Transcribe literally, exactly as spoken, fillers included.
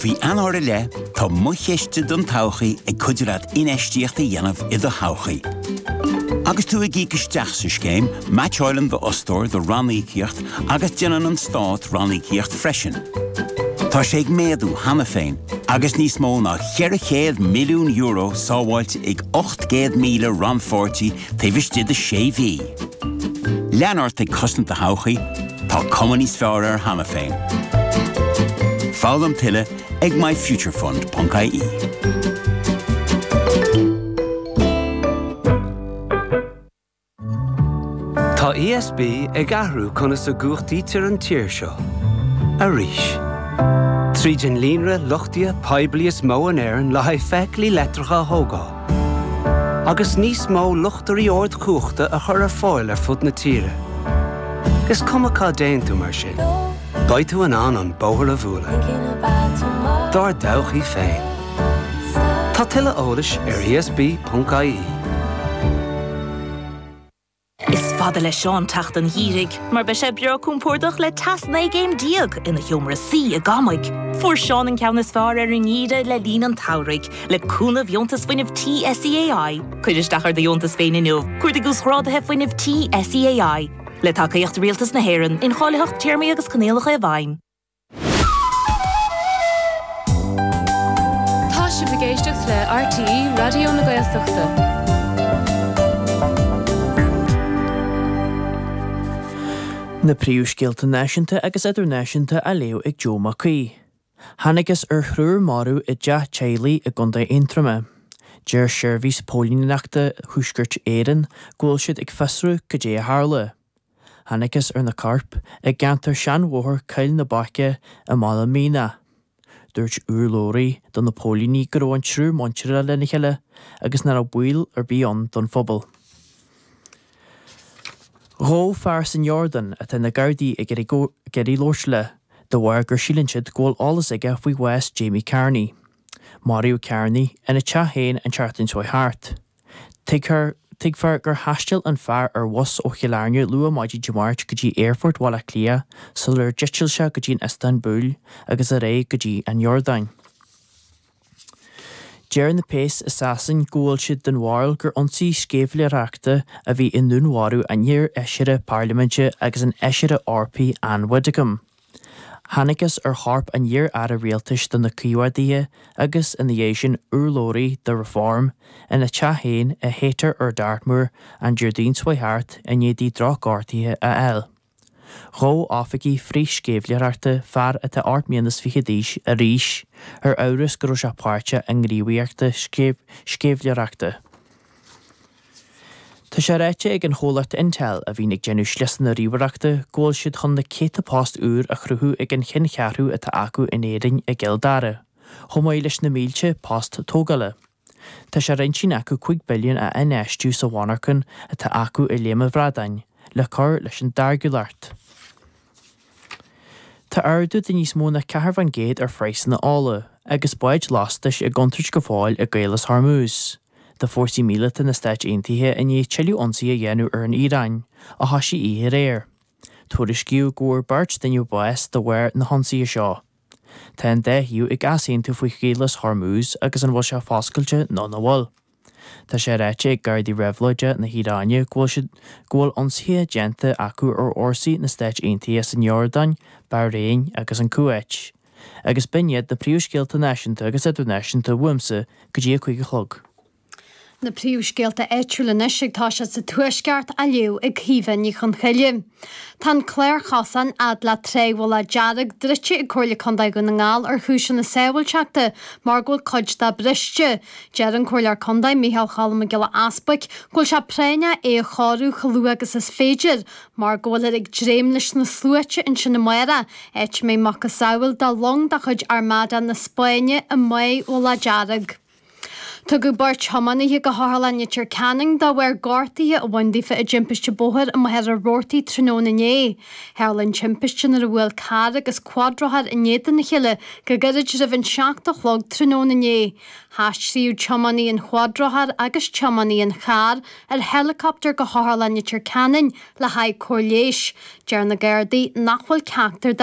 mhí Eanáir i leith, tá Mo Chiste don Todhchaí ag cuidiú leat infheistíocht a dhéanamh i do thodhchaí. Agus tú ag íoc isteach sa scéim, meaitseálann d'fhostóir do ranníocaíocht agus déanann an stát ranníocaíocht freisin. Tá sé ag méadú cheana féin, agus níos mó ná ceithre chéad milliún euro sábháilte ag ocht gcéad míle rannpháirtí taobh istigh de sé mhí. Lean ort ag cosaint do thodhchaí, tá cuma níos fearr air cheana féin. Foghlaim tuilleadh ag myfuturefund.ie. Tá ESB ag athrú conas a chumhachtaítear an tír seo. Arís. Tríd an líonra luchtaithe poiblí is mó in Éirinn le haghaidh feithiclí leictreacha a thógáil. Agus níos mó luchtairí ardchumhachta a chur ar fáil ar fud na tíre. Is cuma cá dtéann tú mar sin. Beidh tú in ann an bóthar a bhualadh. Dár dtodhchaí féin. Tá tuilleadh eolais ar ESB.ie. Is fada le Seán teacht an gheimhridh, mar beidh sé breá compordach le teas naoi gcéim déag ina sheomra suí i gCamaigh. Fuair Seán an ceann is fearr ar an ngeimhreadh le linn an tsamhraidh, le cúnamh dheontas fuinnimh tí SEAI. Cuir isteach ar do dheontas féin inniu, cuardaigh uasghráduithe fuinnimh tí SEAI. Le tacaíocht Rialtas na hÉireann, incháilitheacht téarmaí agus coinníollacha i bhfeidhm. Tá sibh ag éisteacht le RTÉ Raidió na Gaeltachta. Na príomhscéalta náisiúnta agus idirnáisiúnta á léamh ag Joe Mac Aoidh. Thángthas ar thriúr marbh i dteach teaghlaigh i gContae Aontroma. Deir Seirbhís Póilíneachta Thuaisceart Éireann go bhfuil siad ag fiosrú cad é a tharla. Thángthas ar na coirp i gceantar Seanbhóthar Choill na Baice i mBaile Míneach. Dúirt urlabhraí do na póilíní go raibh an triúr muinteartha lena chéile agus nach raibh baol ar bith ann don phobal. Gabhadh fear san Iordáin atá na Gardaí ag iarraidh labhairt le, de bharr gur síleann siad go bhfuil eolas aige faoi bhás Jamie Carney. Maraíodh Carney ina teach féin an tseachtain seo thart. Tuigtear tuigfear gur thaistil an fear ar bhus ó Chill Airne luath maidin Dé Máirt go dtí Aerfort Bhaile Átha Cliath sular d'eitil sé go dtí an Iostanbúl agus ar aghaidh go dtí an Iordáin. Deir na péas i Sasain go bhfuil siad den bharúil gur ionsaí sceimhlitheoireachta a bhí i ndúnmharú an iar-fheisire parlaiminte agus an fheisire Eorpaigh Ann Widdecombe. Thángthas ar chorp an iar-aire rialtais do na Caomhádaithe agus ina dhiaidh sin urlabhraí do Reform ina teach féin i Haytor ar Dartmoor an Déardaoin seo thart i ndiaidh di drochghortuithe a fháil. Ghabh oifigigh frith-sceimhlitheoireachta fear atá ocht mbliana is fiche d'aois arís ar amhras go raibh sé páirteach i ngníomhaíocht sceimhlitheoireachta. Tá sé ráite ag an chomhlacht Intel a bhíonn ag déanamh sliosanna ríomhaireachta go bhfuil siad chun na céadta post úr a chruthú ag an cheanncheathrú atá acu in Éirinn i gCill Dara, chomh maith leis na mílte post tógála. Tá sé ar intinn acu cúig billiún a infheistiú sa mhonarcha atá acu i Léim an Bhradáin le cur leis an táirgiúlacht. Tá ardú de níos mó ná ceathair faoin gcéad ar phraghsanna ola, agus báid lastais i gcontúirt go fóill i gCaolas Hormuz. Tá fórsaí míleata na Stáit Aontaithe i ndiaidh tuilleadh ionsaí a dhéanamh ar an Iaráin, a thosaigh oíche aréir. Tuairiscíodh go bhfuair beirt duine bás de bharr na hionsaithe seo. Tá an dá thaobh ag easaontú faoi Chaolas Hormuz agus an bhfuil sé foscailte nó nach bhfuil. Tá sé ráite ag Gardaí Réabhlóide na hIaráine go bhfuil siad go bhfuil ionsaithe déanta acu ar fhórsaí na Stáit Aontaithe san Iordáin, Bairéin agus an Cuáit. Agus b'in iad na príomhscéalta náisiúnta agus idirnáisiúnta uaimse go dtí a cúig a chlog. Na príomhscéalta áitiúla anois ag toiseacht sa Tuaisceart á léamh ag Caoimhe Ní Chonchoille. Tá an clár chosán fhad le Trá Mhullach Dearg druidte ag Comhairle Contae Dhún na nGall ar chúiseanna sábháilteachta mar go bhfuil cuid de briste. Deir an Comhairleoir Contae Micheál Cholm Mac Giolla Easbuic go bhfuil sé práinneach é a chóiriú chomh luath agus is féidir, mar go bhfuilthear ag dréim leis na sluaite ansin amárach, áit a mbeidh macasamhail de long de chuid Armada na Spáinne i mBáigh Mhullach Dearg. Tugadh beirt thiománaithe go hOtharlann Leitir Ceanainn de bharr gortuithe a bhain daofa i dtimpiste bóthair i Machaire Rabhartaigh tráthnóna inné. Tharla an timpiste nuair a bhuail carr agus cuadrothar in éadan a chéile go gairid roimh an seacht a chlog tráthnóna inné. Haistríodh tiománaí an chuadrothair agus tiománaí an chairr ar heileacaptar go hOtharlann Leitir Ceanainn le haghaidh cóir leighis. Deir na Gardaí nach bhfuil ceachtar